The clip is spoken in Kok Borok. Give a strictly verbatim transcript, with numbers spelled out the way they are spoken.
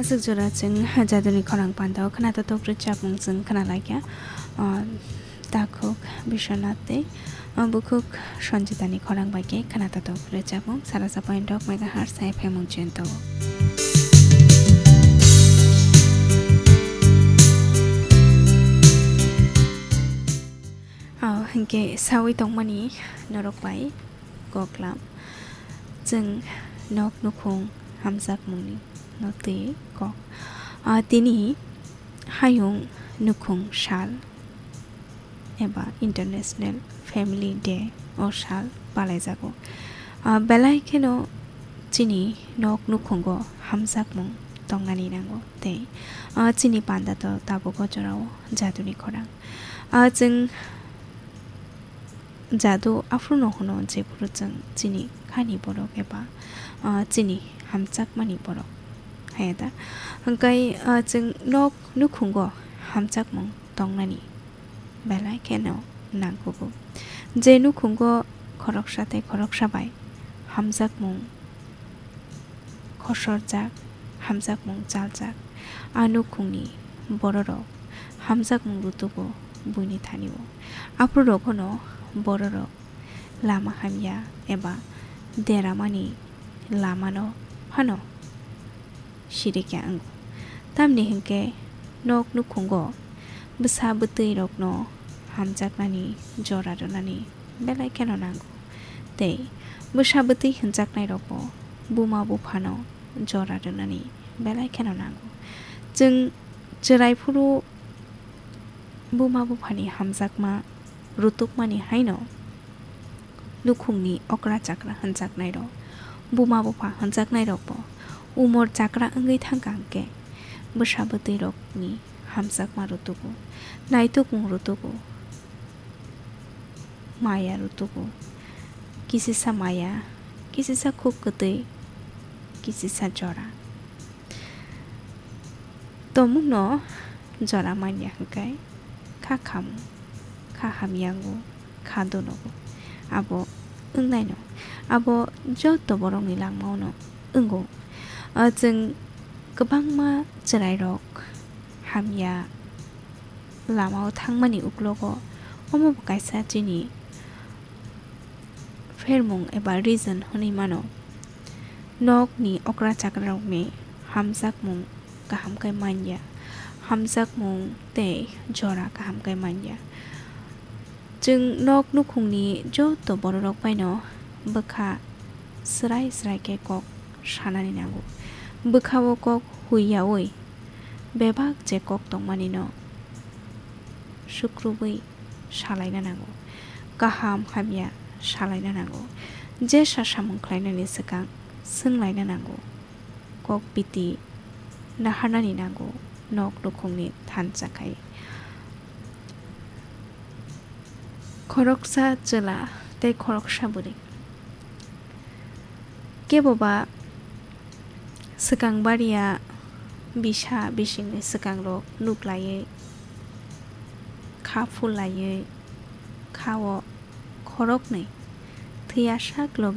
Aswk jora chwng jaduni khorang pandao khwnatotok rwchapmung chwng khwnalaikha. Ah, takhuk Biswanath tei, ah, bukhuk Sanjitani khorang bai khe khwnatotok rwchapmung sara sa point rok megahertz F M mung chento. Ah, hinkhe sawi tongmani norok bai koklam. Chwng nok nukhung hamjakmungni no twi kok. Ah, tini hayung nukhung sal eba International Family Day o sal palaijago. Ah, belai kheno chini nok nukhungo hamjakmung tongnani nango tei, ah, chini panda to tabuk o jorao jaduni khorang. Ah, chwng jadu aphuru no hwno, jephuru chwng chini khani borok eba, ah, chini hamjakmani borok, haya da? Hwnkhe, ah, chwng nok nukhungo hamjakmung tongnani belai kheno nangkugo. Je nukhungo khoroksa tei khoroksa bai hamjakmung khosorjak, hamjakmung chaljak. A nukhungni bororok hamjakmung rutugo buini thani-o. Aphuru rogono bororok lama hamya eba deramani lamano phano sirikya wngo. Tamni hinkhe nok nukhungo bwsa bwtwi rokno hamjaknani jora rwnani belai kheno nango. Tei bwsa bwtwi hwnjaknai rokbo buma buphano jora rwnani belai kheno nango. Chwng chwrai phuru buma buphani hamjakma rutukmani haino nukhungni okra chakra hwnjaknairok, buma bupha hwnjaknairokbo umor chakra wngwi thangkha hwnkhe bwsa bwtwirokni hamjakma rutugo, naitukmung rutugo, maya rutugo, kisisa maya, kisisa khuk kwtwi, kisisa jora. Tongmungno jora manya hwnkhe kha khamu, kha hamyango, kha donogo. Abo wngnaino. Abo joto borokni langmaono wngo. Ah, chwng kwbangma chwrairok hamya lamao thangmani uklogo omobo kaisa chini phermung eba reason hwnwi mano. Nokni okra chakrarokni hamjakmung kaham khe manya, hamjakmung tei jora kaham khe manya. Chwng nok nukhungni joto bororok baino bwkha swrai swrai khe kok sanani nango. Bwkha-o kok huiyaui bebak je kok tongmanino sukrubwi salaina nango, kaham hamya salaina nango, jesa samung khlainani swkang swnglaina nango, kok biti naharnani nango, nok nukhungni thansa khai. Khoroksa chwla tei khoroksa bwrwi. Keboba swkang baria bisa bisingni swkangrok nuklaiwi, kha phulaiwi, kha-o khoroknwi thwiyasak logi